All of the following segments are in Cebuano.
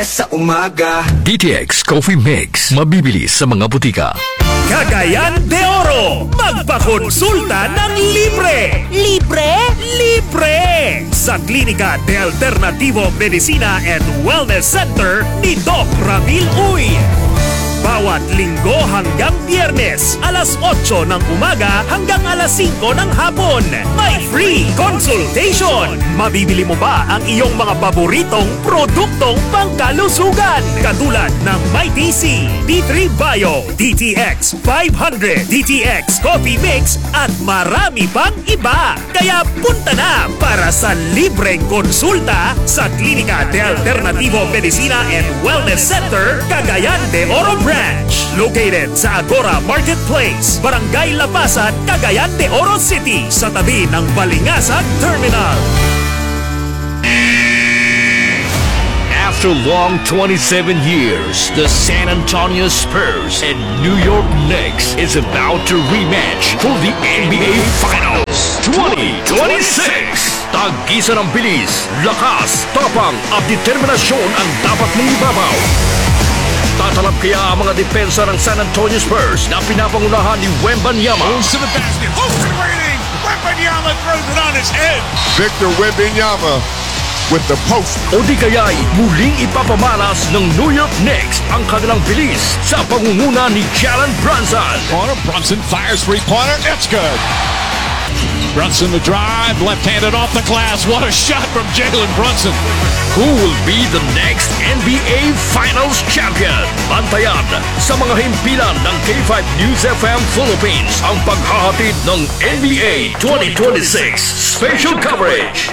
Sa umaga. DTX Coffee Mix. Mabibili sa mga butika. Cagayan de Oro, magpakonsulta ng libre! Libre? Libre! Sa Klinika de Alternativo Medicina and Wellness Center ni Doc Ramil Uy. Bawat Linggo hanggang Biyernes, alas 8 ng umaga hanggang alas 5 ng hapon. May free consultation! Mabibili mo ba ang iyong mga paboritong produktong pangkalusugan? Katulad ng Mighty C, D3 Bio, DTX 500, DTX Coffee Mix at marami pang iba. Kaya punta na para sa libreng konsulta sa Klinika de Alternativo Medicina and Wellness Center, Cagayan de Oro Branch. Located sa Agora Marketplace, Barangay Lapasan, Cagayan de Oro City, sa tabi ng Balingasag Terminal. After long 27 years, the San Antonio Spurs and New York Knicks is about to rematch for the NBA Finals 2026. Tagisa ng bilis, lakas, tapang at determinasyon ang dapat mong ibabaw. Tatalab kaya ang mga depensa ng San Antonio Spurs na pinapangunahan ni Wembanyama? Moves to the basket. Open waiting. Wembanyama throws it on his head. Victor Wembanyama with the post. O di kaya'y muling ipapamalas ng New York Knicks ang kanilang bilis sa pangunguna ni Jalen Brunson? Corner. Brunson fires three-pointer. It's good. Brunson the drive. Left-handed off the glass. What a shot from Jalen Brunson. Who will be the next NBA Finals champion? Bantayan sa mga himpilan ng K5 News FM Philippines ang paghahatid ng NBA 2026 Special Coverage.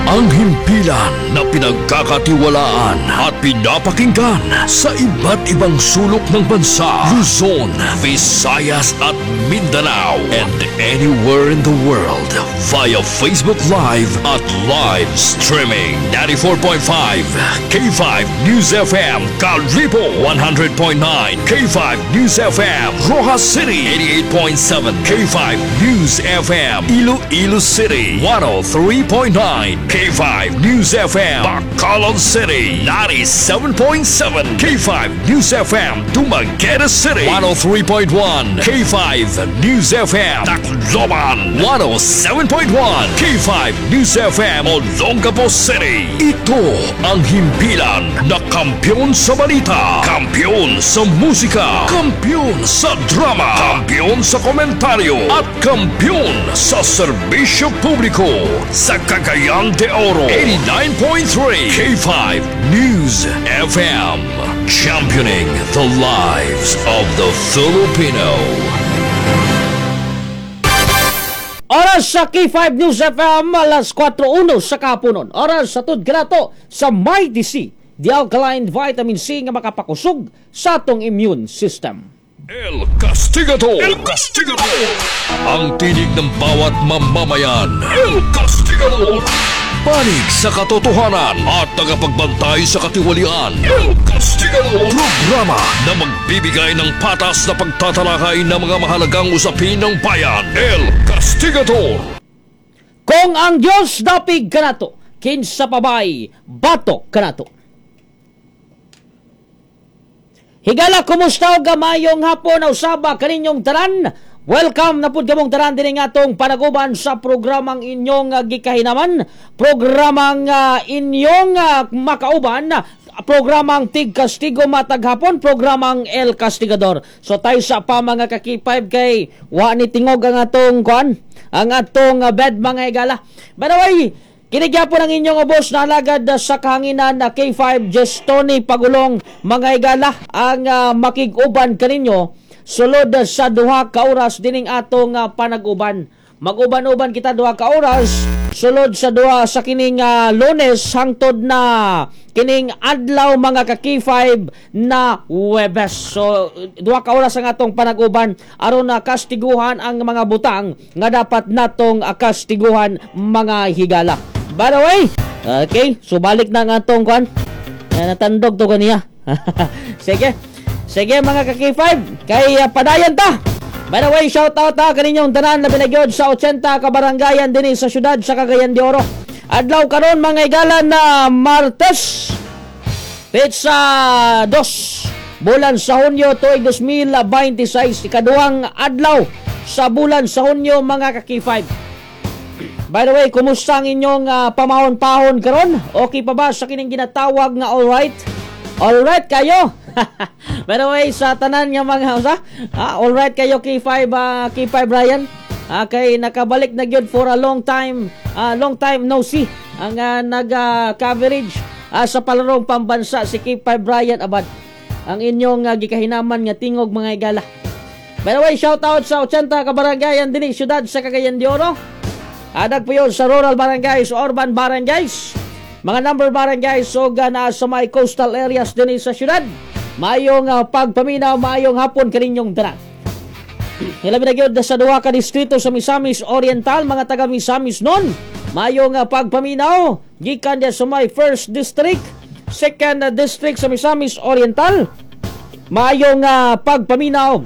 Ang himpilan na pinagkakatiwalaan at pinapakinggan sa iba't ibang sulok ng bansa, Luzon, Visayas at Mindanao, and anywhere in the world via Facebook Live at live streaming. 94.5 K5 News FM Kalibo, 100.9 K5 News FM Roxas City, 88.7 K5 News FM Iloilo City, 103.9 K5 News FM Bacolod City, 97.7 K5 News FM Dumaguete City, 103.1 K5 News FM Tacloban, 107.1 K5 News FM Olongapo City. Ito ang himpilan na kampiyon sa balita, kampiyon sa musika, kampiyon sa drama, kampiyon sa komentaryo at kampiyon sa serbisyo publiko sa Cagayan de Oro, 89.3 K5 News FM, championing the lives of the Filipino. Oras sa K5 News FM, alas 4:01 sa kapunon. Oras sa tud grato sa Mighty C, the alkaline vitamin C nga makapakusog sa atong immune system. El Castigador! El Castigador! Ang tinig ng bawat mamamayan. El Castigador! Panig sa katotohanan at tagapagbantay sa katiwalian. El Castigador! Programa na magbibigay ng patas na pagtatalakay ng mga mahalagang usapin ng bayan. El Castigador! Kung ang Diyos dapig kanato, kinsa pabay batok kanato. Higala, kumusta og gamayong hapon usaba kaninyong tanan? Welcome na pud kamong tanan dinhi atong panaguban sa programang inyong gikahinaman, programang inyong makauban, programang Tig Kastigo matag hapon, programang El Castigador. So tayo sa pa mga ka-K5 kay wa ni tingog ang atong kuan, ang atong bed mga higala. By the way, kinigyapon ang inyong ubos na alagad sa kahanginan na K5 Jestony Pagulong mga higala ang makig-uban kaninyo sulod sa 2 ka oras dining atong panaguban. Mag-uban-uban kita 2 ka oras sulod sa duha sa kining Lunes hangtod na kining adlaw mga ka-K5 na Huwebes. So 2 ka oras ang atong panaguban aron na kastiguhan ang mga butang nga dapat natong kastiguhan mga higala. By the way, okay, so balik na ang atong kuan. Natandog to kaniya. Sige. Sige mga ka-K5, kay padayon ta. By the way, shout out ta kaninyong tanan labi na gyud sa 80 ka baranggayan dinhi sa syudad sa Cagayan de Oro. Adlaw karon, mga igala, na Martes, petsa 2 bulan sa Hunyo tuig 2026, ikaduhang adlaw sa bulan sa Hunyo, mga ka-K5. By the way, kumusta ang inyong pamahon-pahon karon? Okay pa ba sa kining ginatawag nga alright? Alright kayo? By the way, sa tanan nga mga usa, alright kayo K5, K5 Brian? Kay nakabalik na gyud for a long time, long time no see ang nag-coverage sa palarong pambansa si K5 Brian Abad. Ang inyong gikahinaman nga tingog, mga igala. By the way, shout out sa 80 ka barangayan dinhi syudad sa Cagayan de Oro. Adag po yun sa rural barangays, urban barangays, mga number barangays o na sa may coastal areas dinhi sa syudad. Maayong pagpaminaw, maayong hapon kaninyong tanan. Hilabi na gyud sa duha ka distrito sa Misamis Oriental, mga taga Misamis nun. Maayong pagpaminaw gikan sa may first district, second district sa Misamis Oriental. Maayong pagpaminaw.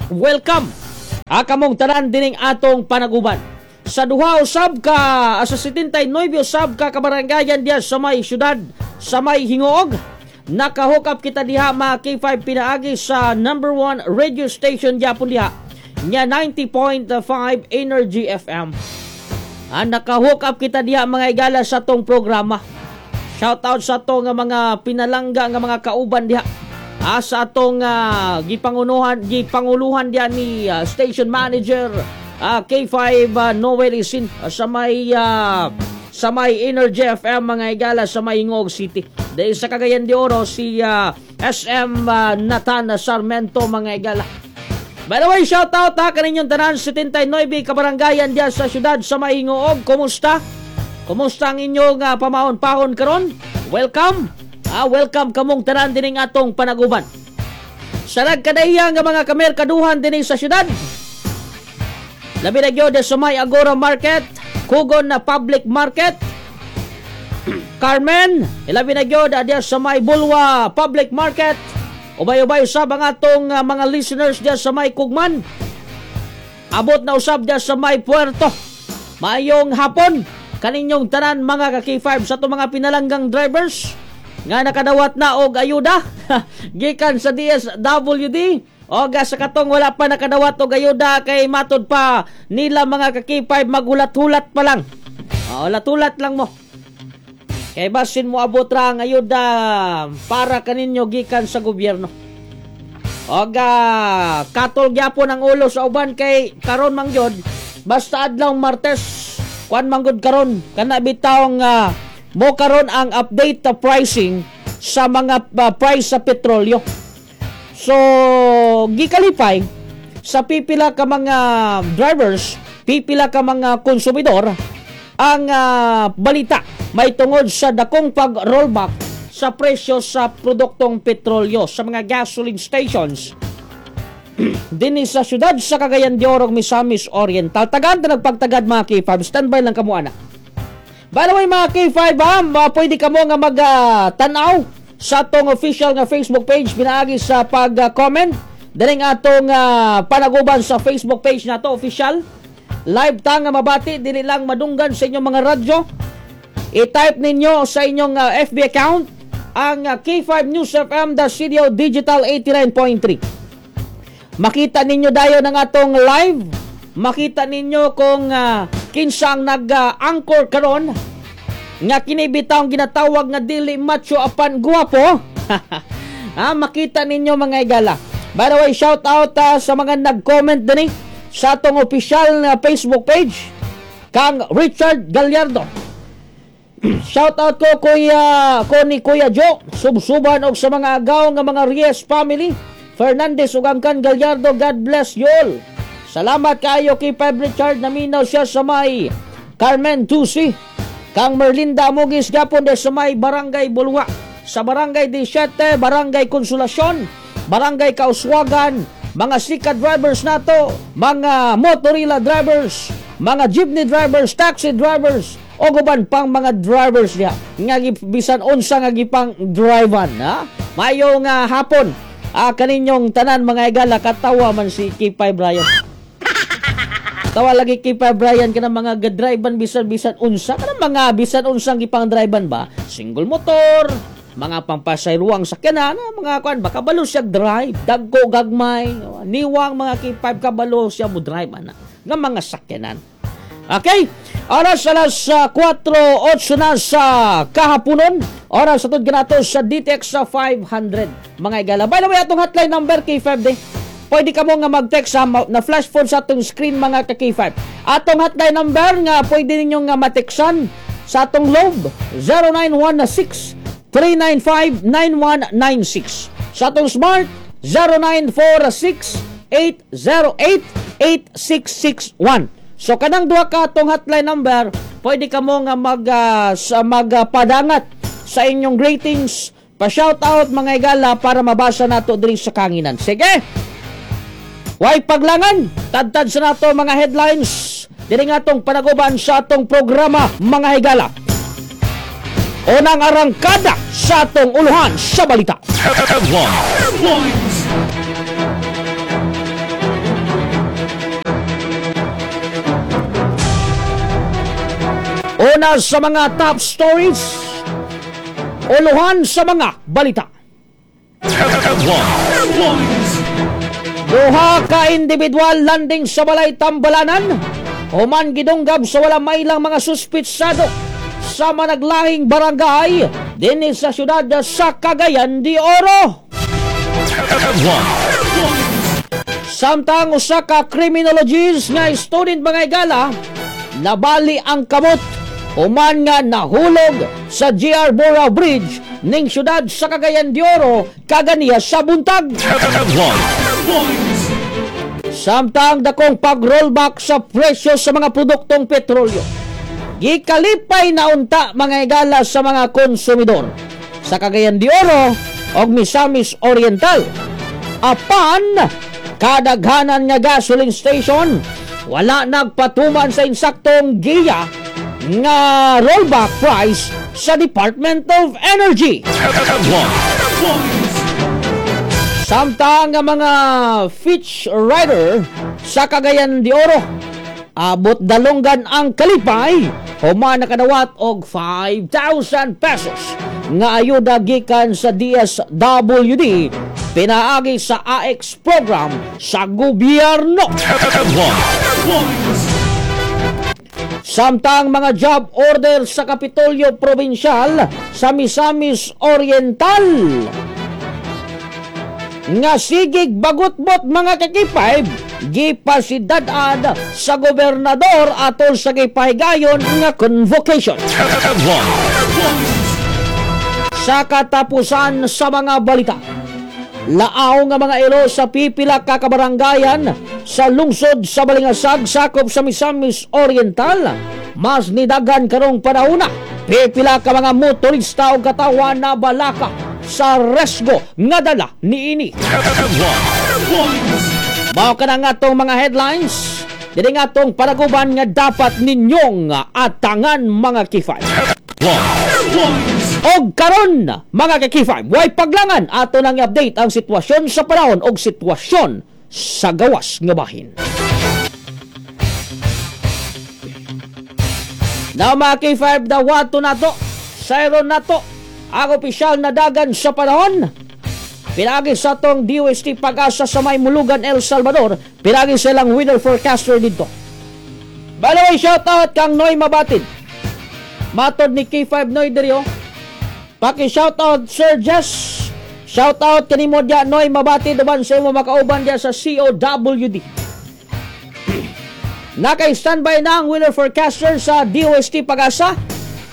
Welcome. Akamong tanan dining atong panaguban. Sa duha usab ka sa 79 usab ka kabarangayan diya sa may syudad sa may Gingoog. Naka-hook up kita diha, mga K5, pinaagi sa number one radio station gyapon diha nya 90.5 Energy FM. Naka-hook up kita diha, mga igala, sa tong programa. Shout out sa atong mga pinalangga nga mga kauban diha. Sa atong gipangunuhan gipanguluhan diha ni station manager K5 Noel Isin sa may Energy FM, mga igala, sa may Gingoog City. Dahil sa Cagayan de Oro si SM Nathan Sarmento, mga igala. By the way, shout out ha kaninyong tanan, 79 kabarangayan diyan sa syudad sa may Gingoog. Kumusta? Kumusta ang inyong pamahon-pahon karon? Welcome. Welcome kamong tanan dining atong panaguban. Sa nagkadahiya nga mga kamerkaduhan dinhi sa syudad. Labi na gyud sa may Agora Market, Kugon na Public Market, Carmen, ilabi na gyud diya sa may Bulwa Public Market. Ubay-ubay usab ang atong mga listeners diya sa may Kugman. Abot na usab diya sa may Puerto. Maayong hapon kaninyong tanan, mga ka-K5, sa atong mga pinalanggang drivers nga nakadawat na og ayuda gikan sa DSWD o sa katong wala pa nakadawat og ayuda kay matod pa nila, mga ka-K5, magulat-hulat pa lang. Hulat-hulat lang mo. Kay basin mo abot ra ang ayuda para kaninyo gikan sa gobyerno. Og katol gyapon ang ulo sa uban kay karon man gyud basta adlaw Martes, kuan man gud karon kana bitawng mo karon ang update the pricing sa mga price sa petrolyo. So gikalipay sa pipila ka mga drivers, pipila ka mga konsumidor ang balita may tungod sa dakong pag-rollback sa presyo sa produktong petrolyo sa mga gasoline stations dinhi sa syudad sa Cagayan de Oro, Misamis Oriental. Tagaan ta nagpagtagad, mga K5. Standby lang kamo ana. By the way, mga K5, ha, pwede kamo nga mag-tanaw sa atong official nga Facebook page pinaagi sa pag-comment dining atong panaguban sa Facebook page nato official. Live ta nga mabati, dili lang madunggan sa inyong mga radyo. I-type ninyo sa inyong FB account ang K5 News FM The CDO Digital 89.3. Makita ninyo dayon ang atong live. Makita ninyo kung kinsa ang nag-anchor karon nga kini bitawng ginatawag nga dili macho apan guwapo. Makita ninyo, mga igala. By the way, shout out sa mga nag-comment dinhi sa atong official na Facebook page kang Richard Gallardo. Shout out ko kuya ko ni Kuya Joe, subsuban og sa mga agaw nga mga Reyes family, Fernandez ug Angkan Gallardo, God bless you all. Salamat kaayo kay Peb Richard, naminaw siya sa may Carmen Tusi. Kang Merlinda Amugis gapon de sa may Barangay Bulwa, sa Barangay 17, Barangay Consolacion, Barangay Kauswagan, mga sika drivers nato, mga motorila drivers, mga jeepney drivers, taxi drivers, o uban pang mga drivers diha nga bisan unsa nga gipang drivean, ha. Maayong hapon kaninyong tanan, mga igala. Katawa man si K5 Brian. Tawa lagi kay pa Brian kanang mga gadrivean bisan-bisan unsa, kanang mga bisan unsang gipang drivean ba, single motor, mga pampasayruang sakyanan, mga kuan ba, kabalo siya drive, dagko gagmay, niwang mga K5 kabalo siya mo drive ana nga mga sakyanan. Okay, oras alas 4:08 na sa kahaponon. Oras sa ganato sa DTX sa 500. Mga igala. By the way, atong hotline number K5 de. Pwede ka mo nga mag-text sa na flash phone sa atong screen mga ka-K5. Atong hotline number nga pwede ninyo nga mateksan sa atong Globe 0916 395 9196. Sa atong Smart 0946 808 8661. So kanang duha ka atong hotline number, pwede ka mo nga magpadangat sa inyong greetings, pa-shout out mga igala para mabasa nato diri sa kanginan. Sige. Way paglangan, tadtad sa nato mga headlines diri nga atong panaguban sa atong programa mga higala. Unang arangkada sa atong uluhan sa balita. Headlines. Una sa mga top stories, uluhan sa mga balita. Headlines. Duha ka individual landing sa balay Tambalanan, human gidunggab sa wala mailang mga suspitsado sa managlahing barangay dinhi sa syudad sa Cagayan de Oro. Headlines. Samtang usa ka criminologist nga student mga igala, nabali ang kamot human nga nahulog sa GR Bora Bridge ning syudad sa Cagayan de Oro kaganiya sa buntag. Headlines. Samtang dakong pag-rollback sa presyo sa mga produktong petrolyo, gikalipay na unta mga igala sa mga konsumidor sa Cagayan de Oro og Misamis Oriental. Apan kadaghanan nga gasoline station wala nagpatuman sa insaktong giya nga rollback price sa Department of Energy. Headlines. Samtang ang mga fish rider sa Cagayan de Oro abot dalonggan ang kalipay human nakadawat og 5,000 pesos nga ayuda gikan sa DSWD pinaagi sa AX program sa gobyerno. Headlines. Samtang mga job order sa Kapitolyo Provincial sa Misamis Oriental nga sigig bagutbot mga ka-K5 gipasidad-ad sa gobernador atol sa gipahigayon nga convocation. Headlines. Sa katapusan sa mga balita, laaw nga mga ilo sa pipila ka kabaranggayan sa lungsod sa Balingasag sakop sa Misamis Oriental mas nidagan karong panahona. Pipila ka mga motorista o katawan na balaka sa resgo nga dala niini. Headlines. Mao ka na nga atong mga headlines diri nga atong panaguban nga dapat ninyong atangan mga K5. Headlines. Og karon mga ka-K5, way paglangan ato nang i-update ang sitwasyon sa panahon og sitwasyon sa gawas nga bahin. Now mga K5, dawato nato, sayron nato ang opisyal na dagan sa panahon. Pinagi sa atong DOST Pag-asa sa may Mulugan, El Salvador. Pinagi silang weather forecaster dito. By the way, shout out kang Noy Mabatid. Matod ni K5 Noy diri oh. Paki-shout out Sir Jess. Shout out kanimo diya Noy Mabatid uban sa imo makauban diya sa COWD. Naka-standby na ang weather forecaster sa DOST Pag-asa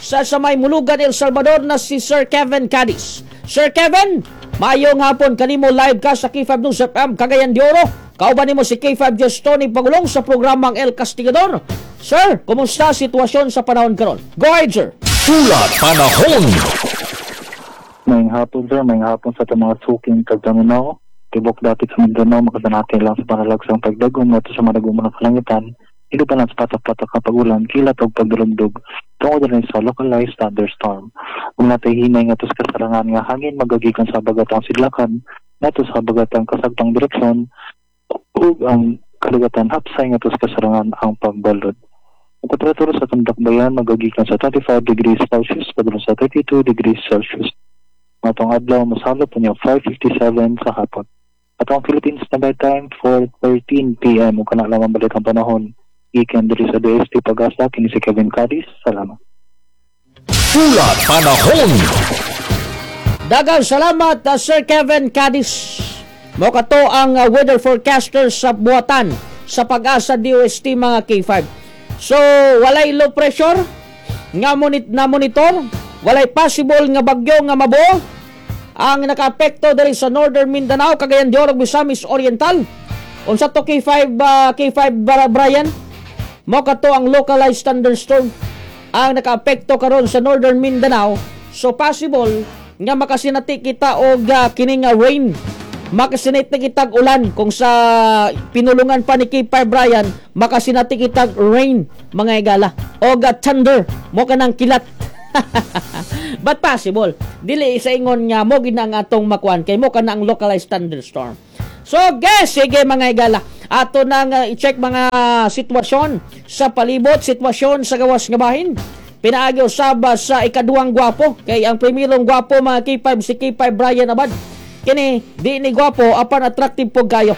sa may Mulugan, El Salvador na si Sir Kevin Cadiz. Sir Kevin, maayong hapon kanimo, live ka sa K5 News FM Cagayan de Oro. Kauban nimo si K5 Jess Tony Pagulong sa programang El Castigador. Sir, kumusta sitwasyon sa panahon karon? Go ahead, sir. Ulat Panahon. Maayong hapon, sir. Maayong hapon sa atong mga suking kagdaminaw. Tibok dapit sa Mindanao, makadanati lang sa panalagsang pagdagom ngadto sa madagom ng kalangitan. Ilo pa lang sa patak-patak nga pag-ulan, kilat og pagdulumdog tungod rin sa localized thunderstorm. Ug natay hinay ngadto sa kasarangan nga hangin magagikan sa habagatang sidlakan ngadto sa habagatang kasagtang direksyon ug ang Kadagatan hapsay ngadto sa kasarangan ang pagbalod. Ang temperatura sa atong dakbayan magagikan sa 25 degrees Celsius padulong sa 32 degrees Celsius. Atong adlaw mosalop unya 5:57 sa hapon. Atong Philippine Standard Time, 4:13 p.m. Ug kana lamang balitang panahon. Gikan diri sa DOST Pag-asa, kini si Kevin Cadiz. Salamat. Ulat Panahon. Daghang salamat, Sir Kevin Cadiz. Mao kato ang weather forecaster sa buhatan sa Pag-asa DOST, mga K5. So, walay low pressure nga na monitor, walay possible nga bagyo nga mabuo ang nakaapekto diri sa Northern Mindanao, Cagayan de Oro, Misamis Oriental. Unsa to, K5, K5 Brian? Mao kato ang localized thunderstorm ang nakaapekto karon sa Northern Mindanao. So possible nga makasinati kita og kini nga rain. Makasinati kitag ulan kung sa pinulungan pa ni K5 Brian, makasinati kitag rain, mga higala. Og thunder, mo kanang kilat. But possible. Dili sa ingon nga mo gid na ang atong makuan kay mo kana ang localized thunderstorm. So, guys, sige, mga higala. Ato nang i-check mga sitwasyon sa palibot, sitwasyon sa gawas nga bahin. Pinaagi usab sa ikaduhang gwapo. Kay ang primerong gwapo, mga K5, si K5 Brian Abad. Kini, di ni gwapo, apan attractive po kayo.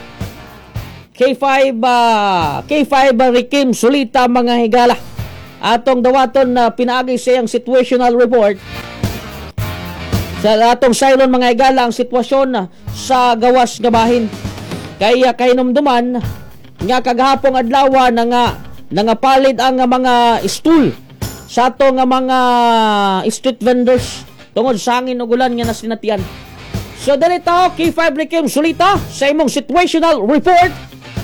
K5, K5 Rikim Sulita, mga higala. Atong dawaton na pinaagi sa iyang situational report. Sa atong silon, mga higala, ang sitwasyon sa gawas nga bahin. Kaya kahinumduman nga kagahapong adlaw na nga nangapalit ang mga stool sa ato nga mga street vendors tungod sa hangin ug ulan nga nasinatian. So dali ta, K5 Rikim Sulita, sa imong situational report,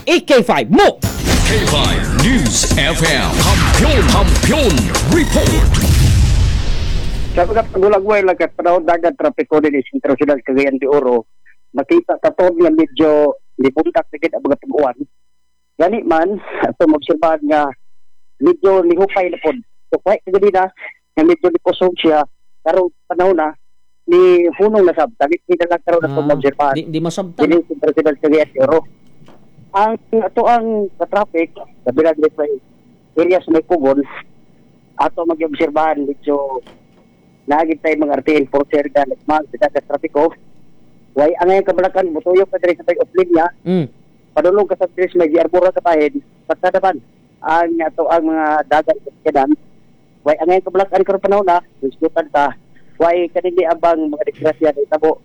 EK5 mo. K5 News FM. Kampiyon, Kampiyon Report. Sa mga pagulagway lang kat panahon dagat trapiko din sa sentro siyudad Cagayan de Oro, makita katon nga medyo libuntak na gid ang mga pag-uwan. Gani man, ato maobserbahan nga medyo nihupay na pod. So kahit kaganina nga medyo nikusog siya, karong panahon na ni hunong na sab. Dagit kita lang karon ato maobserbahan. Di masabtan. Dili sentro siyudad Cagayan de Oro. Ang ato ang traffic, labi na diri sa area sa may kugon, ato mag-obserbahan medyo naagid tayo mga RT enforcer nga nagmahal sa dagat trapiko. Way ang ngayon kabalakan, mutuyo ka diri sa tayo off linya, padulong ka sa diri sa may Arbora kapahin, pasadaban ang ato ang mga dagat sa kanan. Way ang ngayon kabalakan karon panahon na, isgutan ta, way kanini abang mga disgrasya na itabo,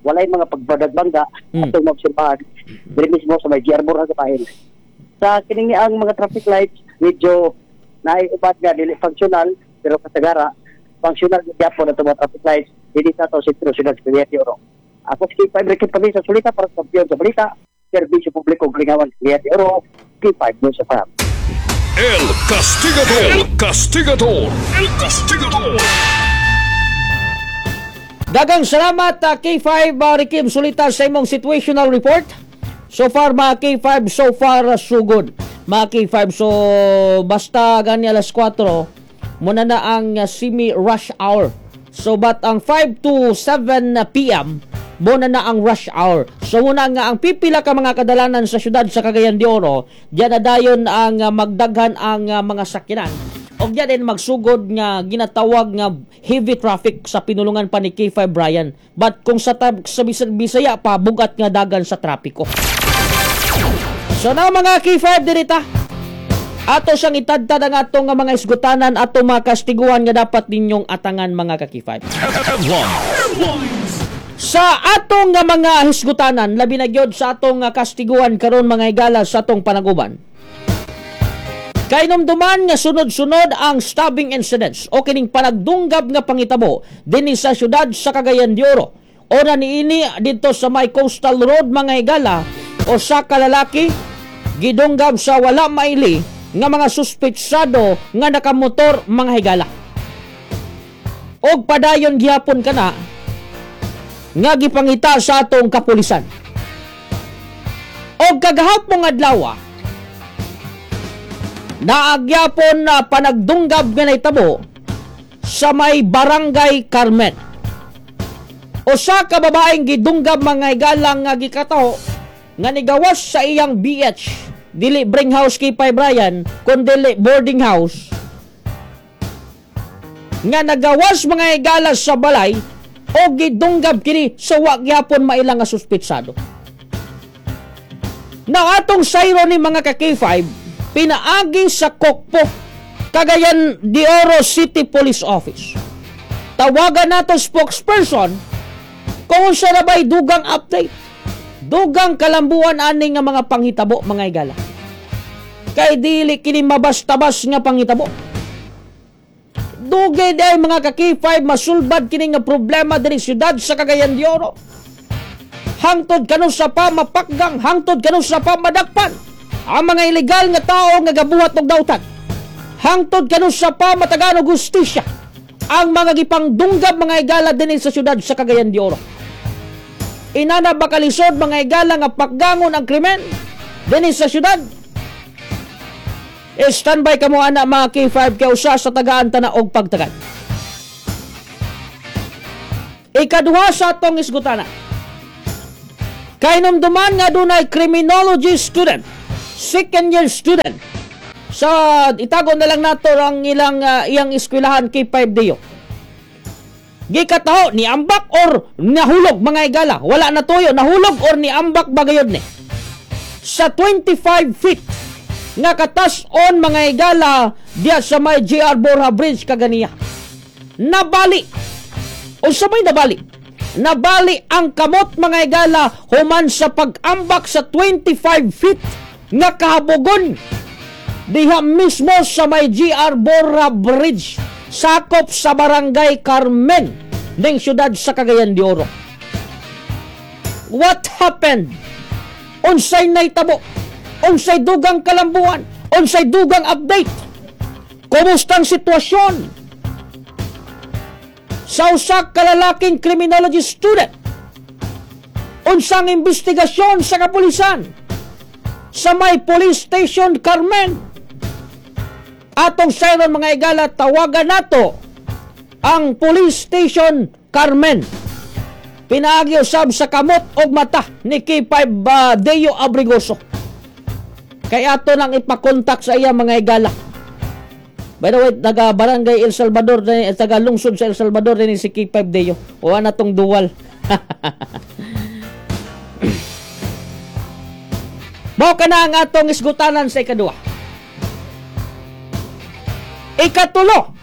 walay mga pagbadagbangga atong maobserbahan diri mismo sa may Arbora kapahin. Sa kiningi ang mga traffic lights, medyo naiubat nga dili functional, pero kasagara functional gyapon ato mga traffic lights dili sa ato sentro siyudad Cagayan de Oro. Ako si K5 Ricky Pamisa Sulita para sa Kampiyon sa Balita, serbisyo publiko Glingawan, Cagayan de Oro, K5 News FM. El Castigador, El Castigador, El Castigador. Daghang salamat, K5 Rikim Sulita, sa imong situational report. So far, mga K5, so far so good. Mga K5, so basta gani alas 4 muna na ang semi rush hour. So but ang 5 to 7 p.m. muna na ang rush hour. So muna nga ang pipila ka mga kadalanan sa syudad sa Cagayan de Oro, diyan na dayon ang magdaghan ang mga sakyanan. Og diyan din magsugod nga ginatawag nga heavy traffic sa pinulungan pa ni K5 Brian. But kung sa Bisaya pa, bugat nga dagan sa trapiko. So na mga K5, dirita. Ato siyang itadtad ang atong nga mga isgutanan, atong mga kastiguan nga dapat ninyong atangan, mga ka-K5. Sa atong nga mga hisgutanan, labi na gyud sa atong nga kastiguan karon, mga higala, sa atong panaguban. Kainumduman nga sunod-sunod ang stabbing incidents o kining panagdunggab nga pangitabo dinhi sa syudad sa Cagayan de Oro. Ora niini didto sa may Coastal Road, mga higala, usa ka lalaki gidunggab sa wala maili nga mga suspetsado nga nakamotor, mga higala. Og padayon gihapon kana nga gipangita sa atong kapulisan. Og kagahapong adlaw naagyapon na panagdunggab nga nahitabo sa may Barangay Carmen. Usa ka babaeng gidunggab, mga higala, nga gikataho nga nigawas sa iyang BH. Dili bring house kay Brian, kundi boarding house nga nagawas, mga higala, sa balay o gidunggab kini sa wa gyapon maila nga suspitsado. Now, atong sayro ni, mga ka-K5, pinaagi sa Kokpo, Cagayan de Oro City Police Office. Tawagan nato spokesperson kung unsa na ba'y dugang update. Dugang kalambuan ani nga mga panghitabo, mga higala. Kay dili kini mabastabas nga panghitabo. Dugay day, mga ka-K5, masulbad kini nga problema diri siyudad sa Cagayan de Oro. Hangtod kanusa pa mapakgang, hangtod kanusa pa madakpan ang mga ilegal nga tao nga gabuhat og dautan. Hangtod kanusa pa matagaan og hustisya ang mga gipangdunggab, mga higala, dinhi sa siyudad sa Cagayan de Oro. Inana ba kalisod, mga higala, nga pakgangon ang krimen dinhi sa siyudad? Standby kamo ana, mga K5, kay usa sa tagaan ta na og pagtagad. Ikaduha sa atong isgutana. Kahinumduman nga dunay criminology student, second year student. Sa itago na lang nato ang ilang iyang eskwelahan, K5 Dio. Gikataho ni ambak or nahulog, mga higala. Wala na tuyo, nahulog or ni ambak bagayod ni. Sa 25 feet nga katas-on, mga higala, diya sa may GR Borja Bridge kaganiya. Nabali. Unsa may nabali? Nabali ang kamot, mga higala, human sa pag-ambak sa 25 feet nga kahabogon diha mismo sa may GR Borja Bridge, sakop sa Barangay Carmen ng siyudad sa Cagayan de Oro. What happened? Unsay nahitabo? Unsay dugang kalambuan? Unsay dugang update? Kumusta ang sitwasyon sa usa ka lalaking criminology student? Unsang investigasyon sa kapulisan sa may police station Carmen? Atong sayron, mga higala, tawagan nato ang police station Carmen. Pinaagi usab sa kamot og mata ni K5 Deo Abrigoso. Kay ato nang ipakontak sa iya, mga higala. By the way, taga Barangay El Salvador, taga lungsod sa El Salvador din si K5 Deo. Wa na tong duwal. Mao kana ang atong isgutanan sa ikaduha. Ikatulo,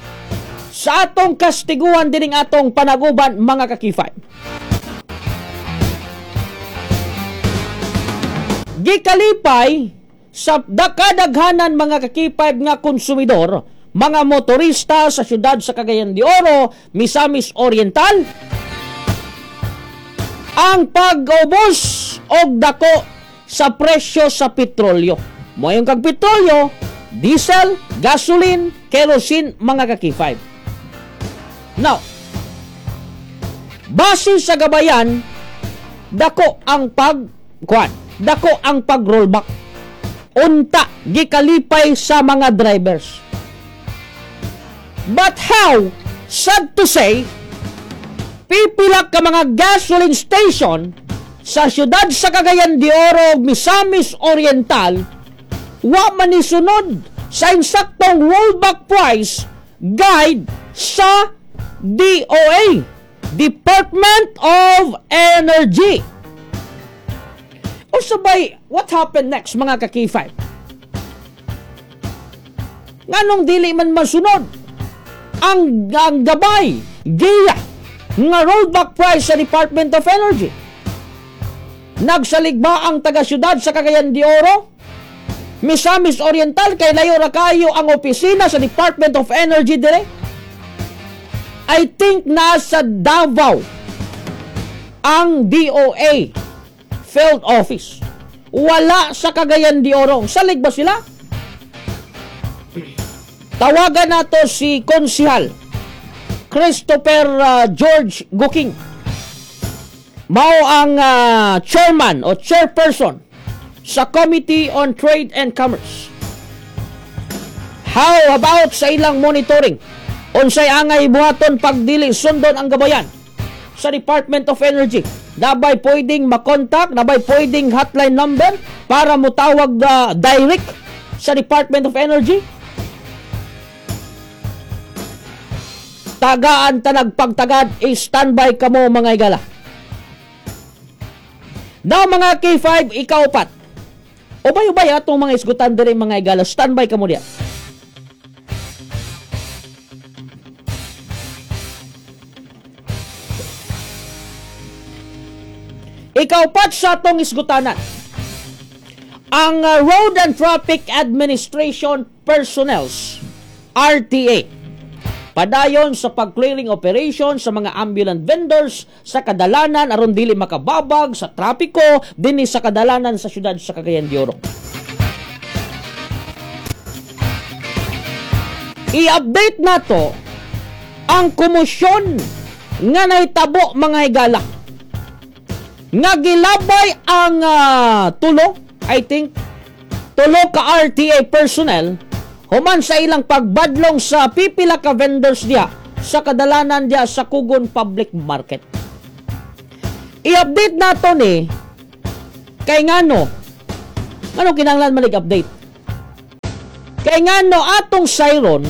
sa atong kastiguan dining atong panaguban, mga ka-K5. Gikalipay sa kadaghanan, mga ka-K5, nga konsumidor, mga motorista sa siyudad sa Cagayan de Oro, Misamis Oriental, ang pag-ubos og dako sa presyo sa petrolyo. Moingon kag petrolyo, diesel, gasoline, kerosene, mga ka-K5. Now, base sa gabayan, dako ang pag kuan, dako ang pag-rollback. Unta gikalipay sa mga drivers. But how, sad to say, pipila ka mga gasoline station sa siyudad sa Cagayan de Oro, Misamis Oriental, wa man nisunod sa insaktong rollback price guide sa DOE, Department of Energy. O sabay, what happened next, mga ka-K5? Nganong dili man masunod ang gabay, giya, nga rollback price sa Department of Energy? Nagsalig ba ang taga-siyudad sa Cagayan de Oro, Misamis Oriental, kay layo ra kayo ang opisina sa Department of Energy dire? I think nasa Davao ang DOE field office. Wala sa Cagayan de Oro. Salig ba sila? Tawagan nato si Konsihal Christopher George Guking. Mao ang chairman o chairperson sa Committee on Trade and Commerce. How about sa ilang monitoring? Unsay angay buhaton pag dili sundon ang gabayan? sa Department of Energy? Nabay pwedeng makontak, nabay pwedeng hotline number para mutawag direct sa Department of Energy? Tagaan tanag pagtagad, i-standby kamo mga higala. Now mga K5, ikaupat. Ubay-ubay atong mga isgutan diri mga higala, standby kamo diya. Ikaupat sa atong isgutanan, ang Road and Traffic Administration Personnels, RTA, padayon sa pag-clearing operation sa mga ambulant vendors sa kadalanan aron dili makababag sa trapiko dinhi sa kadalanan sa syudad sa Cagayan de Oro. I-update nato ang komosyon nga nahitabo mga higala nga gilabay ang tulo, I think tulo ka RTA personnel human sa ilang pagbadlong sa pipila ka vendors diya sa kadalanan diya sa Kugon Public Market. I-update nato ni kay ngano kinahanglan man update? Kay ngano atong siron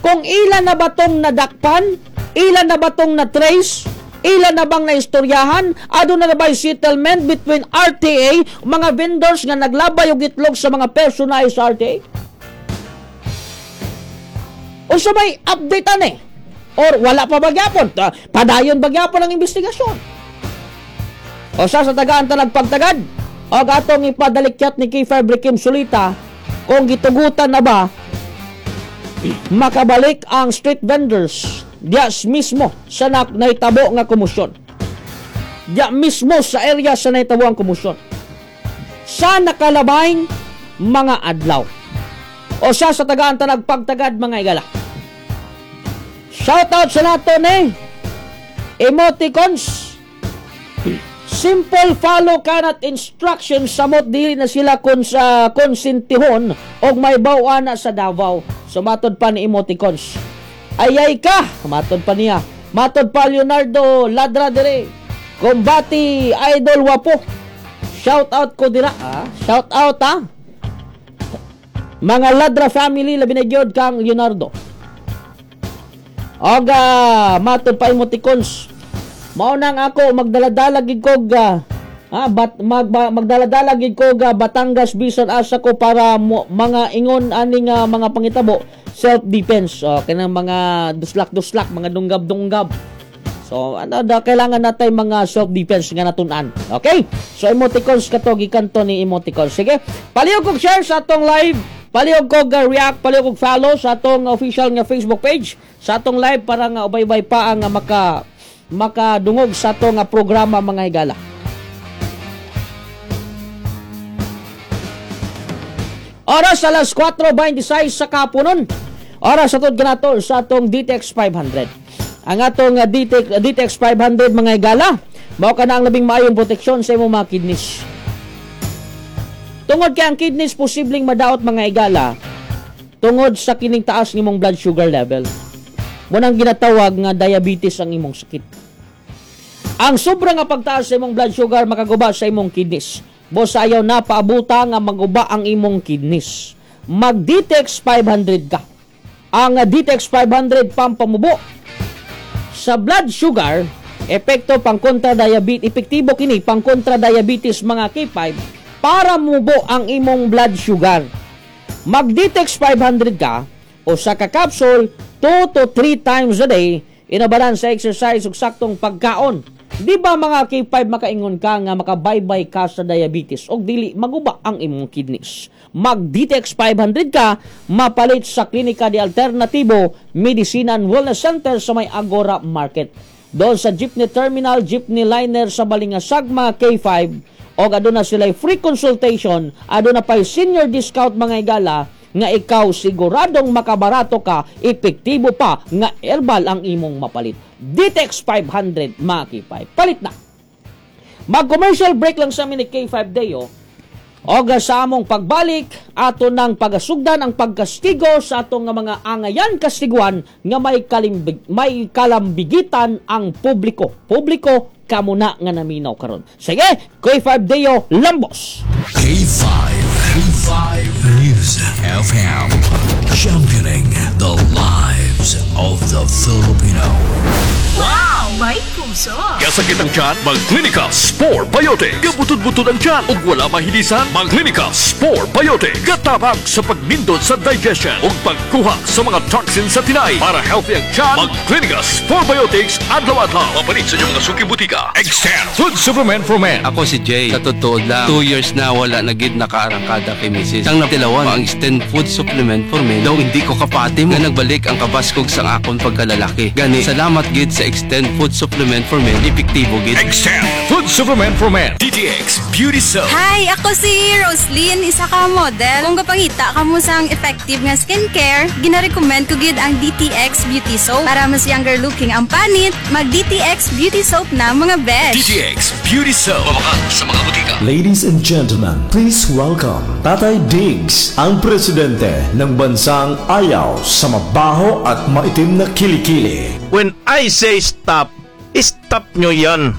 kung ilan na ba tong nadakpan, ilan na ba tong na-trace, ilan na bang naistoryahan, aduna na ba settlement between RTA, mga vendors nga naglabay og itlog sa mga personahe sa RTA? O sa may update ane? Or wala pa bagyapon? Padayon bagyapon ang investigasyon. O sa tagaan talagpagtagad, o atong ipadalikyat ni K5 Rikim Sulita kung gitugutan na ba makabalik ang street vendors diya mismo sa nahitabo nga komosyon. Diya mismo sa area sa nahitabo ang komosyon. Sa nakalabay mga adlaw. O sa tagaan talagpagtagad mga igala. Shout out sa nato ni emoticons. Simple follow kanat instructions samot dili na sila konsintihon og may baw-an na sa Davao. So matod pa ni emoticons. Ayay ka, matod pa niya. Matod pa Leonardo Ladra dire. Kumbati Idol Wapo. Shout out ko dira. Shout out ha. Mga Ladra family labi na gyud kang Leonardo. Oga, matod pa emoticons. Mao nang ako magdaladala gid kog magdaladala gid kog Batangas bisan asa ko para mga ingon aning mga pangitabo self defense. So kanang mga duslak-duslak, mga dunggab-dunggab. So ano da kailangan natay mga self defense nga natun-an. Okay? So emoticons kato gikan to ni emoticons. Sige, palihog kog share sa atong live. Palihog kog react, palihog kog follow sa atong official nga Facebook page sa atong live para nga ubay-ubay pa ang makadungog sa atong programa mga higala. Oras alas 4:26 sa kapunon. Oras atod kanato sa atong DTX 500. Ang atong DTX 500 mga higala, mao kana ang labing maayong proteksyon sa imong mga kidneys. Tungod kay ang kidneys posibleng madaot mga higala tungod sa kining taas ng imong blood sugar level. Munang ginatawag nga diabetes ang imong sakit. Ang sobra nga pagtaas sa imong blood sugar makaguba sa imong kidneys. Boss, ayaw na paabuta nga maguba ang imong kidneys. Mag DTX 500 ka. Ang DTX 500 pampamubo sa blood sugar, epekto pang kontra diabetes, epektibo kini pang kontra diabetes mga K5 para mubo ang imong blood sugar. Mag DTX 500 ka o sa ka-capsule 2 to 3 times a day, inabalan sa exercise ug saktong pagkaon. Di ba mga K5 makaingon ka nga makabaybay ka sa diabetes og dili maguba ang imong kidneys? Mag DTX 500 ka, mapalit sa Klinika de Alternatibo Medicina and Wellness Center sa may Agora Market. Doon sa Jeepney Terminal, Jeepney Liner sa Balingasag mga K5, og aduna sila free consultation, aduna pay senior discount mga higala nga ikaw siguradong makabarato ka, epektibo pa nga herbal ang imong mapalit. DTX 500 mga K5. Palit na. Mag-commercial break lang sa amin ni K5 Deo. Og sa among pagbalik, ato nang pagasugdan ang pagkastigo sa atong nga mga angayan kastiguan nga may kalambigitan ang publiko. Publiko kamo na nga naminaw karon. Sige, K5 Deo Lambos. K5, K5 News FM, championing the lives of the Filipino. Wow! May puso! Kasakit ang tiyan, mag-Clinica Spore Biotic. Gabutod-butod ang tiyan ug wala mahilisan, mag-Clinica Spore Biotic. Gatabang sa pagnindot sa digestion ug pagkuha sa mga toxins sa tinay. Para healthy ang tiyan, mag-Clinica Spore Biotics adlaw-adlaw. Mapalit sa inyong mga suki butika. Extend Food Supplement for Men. Ako si Jay. Sa totoo lang, 2 years na wala na gid nakaarangkada kay Mrs. Ang natilawan ang Extend Food Supplement for Men. Daw hindi ko kapati mo nga nagbalik ang kabaskog sa akon pagkalalaki. Gani, salamat gid sa Extend Food Supplement for Men. Epektibo gid. Extend Food Supplement for Men. DTX Beauty Soap. Hi! Ako si Roslyn, isa ka model. Kung kapangita ka mo sang effective nga skincare, ginarecommend ko gid ang DTX Beauty Soap. Para mas younger looking ang panit, mag DTX Beauty Soap na, mga besh. DTX Beauty Soap. Mabakal sa mga butika. Ladies and gentlemen, please welcome Tatay Diggs, ang presidente ng bansang ayaw sa mabaho at maitim na kilikili. When I say stop, stop nyo yan.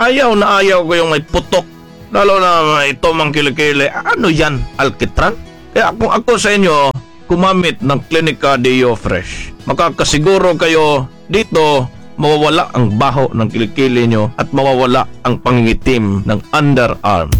Ayaw na ayaw ko yung may putok. Lalo na ito mang kilikili. Ano yan? Alkitran? Kaya kung ako sa inyo, gumamit ng Clinica Deo Fresh. Makakasiguro kayo dito, mawawala ang baho ng kilikili nyo at mawawala ang pangingitim ng underarm.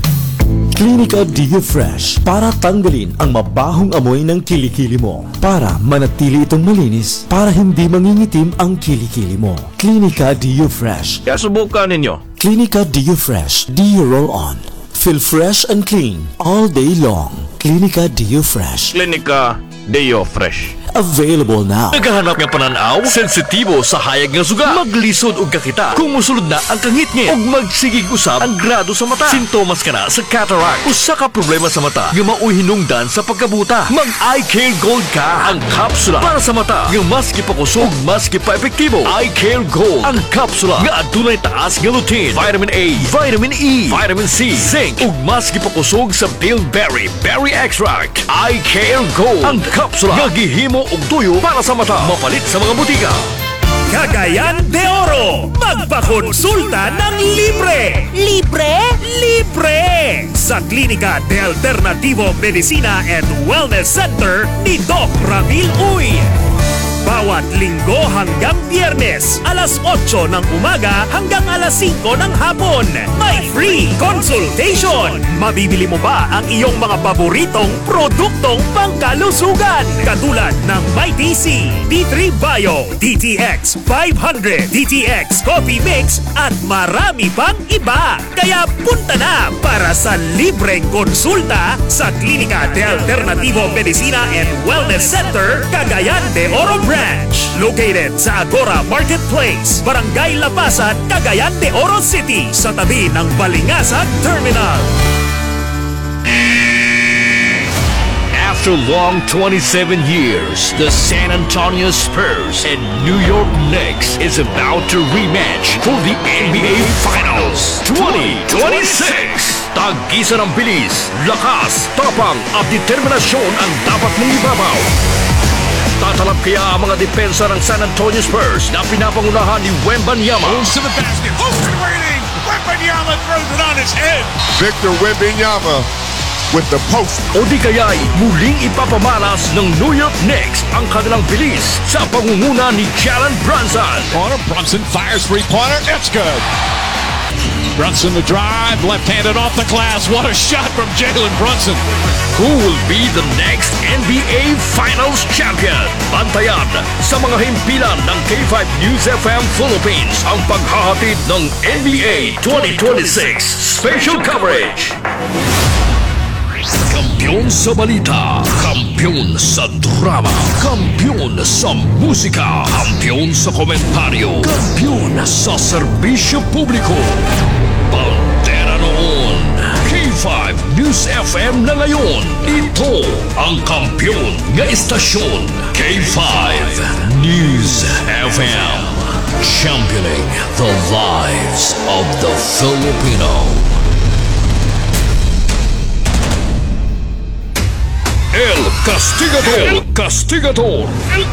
Clinica Dio Fresh, para tanggalin ang mabahong amoy ng kilikili mo. Para manatili itong malinis, para hindi mangingitim ang kilikili mo. Clinica Dio Fresh. Kaya subukan ninyo. Clinica Dio Fresh. Dio Roll On. Feel fresh and clean all day long. Clinica Dio Fresh. Clinica Deo Fresh. Available now. Naghahanap nga pananaw, sensitibo sa hayag nga suga, maglisod og kakita, kung musulod na ang kangitngit, ug magsigig usab ang grado sa mata. Sintomas kana sa cataract, usa ka problema sa mata nga maoy hinungdan sa pagkabuta. Mag Eye Care Gold ka, ang kapsula para sa mata nga mas gipakusog, mas gipa-epektibo. Eye Care Gold, ang kapsula nga adunay taas nga lutein, vitamin A, vitamin E, vitamin C, zinc, ug mas gipakusog sa bilberry, berry extract. Eye Care Gold, ang kapsula nga gihimo og tuyo para sa mata. Mapalit sa mga butika. Cagayan de Oro, magpakonsulta ng libre! Libre? Libre! Sa Klinika de Alternativo Medicina and Wellness Center ni Doc Ramil Uy. Bawat Linggo hanggang Biyernes, alas 8 ng umaga hanggang alas 5 ng hapon. May free consultation! Mabibili mo ba ang iyong mga paboritong produktong pangkalusugan? Katulad ng MyTC, D3 Bio, DTX 500, DTX Coffee Mix at marami pang iba. Kaya punta na para sa libreng konsulta sa Klinika de Alternativo Medicina and Wellness Center, Cagayan de Oro Branch. Located sa Agora Marketplace, Barangay Lapasan, Cagayan de Oro City, sa tabi ng Balingasag Terminal. After long 27 years, the San Antonio Spurs and New York Knicks is about to rematch for the NBA Finals 2026. Tagisa ng bilis, lakas, tapang at determinasyon ang dapat mong ibabaw. Tatalab kaya ang mga depensa ng San Antonio Spurs na pinapangunahan ni Wembanyama? Moves to the basket. Open waiting. Wembanyama throws it on his head. Victor Wembanyama with the post. O di kaya'y muling ipapamalas ng New York Knicks ang kanilang bilis sa pangunguna ni Jalen Brunson? Corner. Brunson fires three-pointer. It's good. Brunson the drive, left-handed off the glass. What a shot from Jalen Brunson. Who will be the next NBA Finals champion? Bantayan sa mga himpilan ng K5 News FM Philippines ang paghahatid ng NBA 2026 Special Coverage. Kampiyon sa balita, kampiyon sa drama, kampiyon sa musika, kampiyon sa komentaryo, kampiyon sa serbisyo publiko. Bandera noon, K5 News FM na ngayon. Ito ang kampiyon nga istasyon. K5 News FM. Championing the lives of the Filipino. El Castigador. El Castigador. El